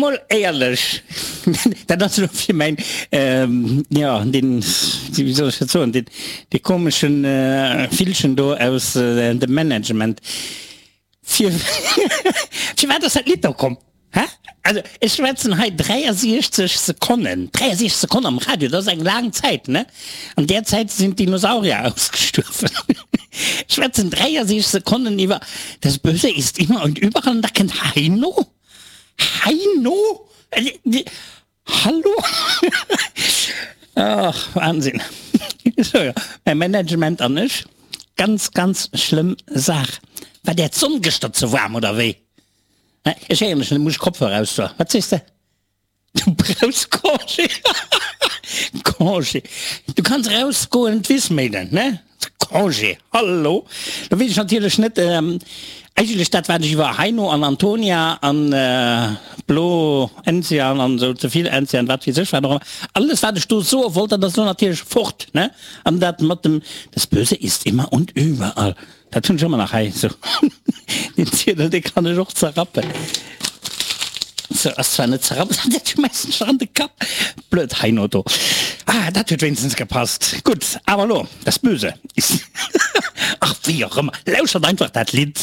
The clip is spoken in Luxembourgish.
Mol éierlech, dat ass elo fir mäin, jo, deen, wéi soll ech dat soen, deen, dee komeschen Villchen do aus dem Management. Fir, firwat ass dat Lidd do komm? Hä? Also ech schwätzen hei 63 Sekonnen, 63 Sekonnen am Radio, dat ass eng laang Zäit, ne? An där Zäit sinn d'Dinosaurier ausgestuerwen. Ech schwätzen 63 Sekonnen iwwer Das Böse ist immer und überall an da kënnt Heino? Heino? Hallo? Ach, Wahnsinn. So, jo, mäi Management an ech, ganz, ganz schlëmm Saach. War där d'Sonn gëschter ze waarm oder wéi? Ech héieren dech net, muss ech Kopfhörer ausdoen. Wat sees de? Du brauchs Congé. Congé. Du kanns erausgoen d'Wiss méinen, ne? Congé, hallo! Do weess ech natierlech net, eigentlech dat wat ech iwwer Heino an Antonia an Blo Enzian an esou, ze vill Enzian, wat weess ech wat och ëmmer, alles wat ech do soe wollt, dat ass elo natierlech fort, ne? An dat mat dem Das Böse ist immer und überall. Dat hunn ech ëmmer nach hei. Sou, deen Ziedel, dee kann ech och zerrappen. Sou, ass zwar net zerrappt, dat schmäissen ech der an de Kapp. Blöd Heino do. Ah, dat huet wéinstens gepasst. Gutt, awer elo, das Böse ist, ach, wéi och ëmmer, lauschtert einfach dat Lidd.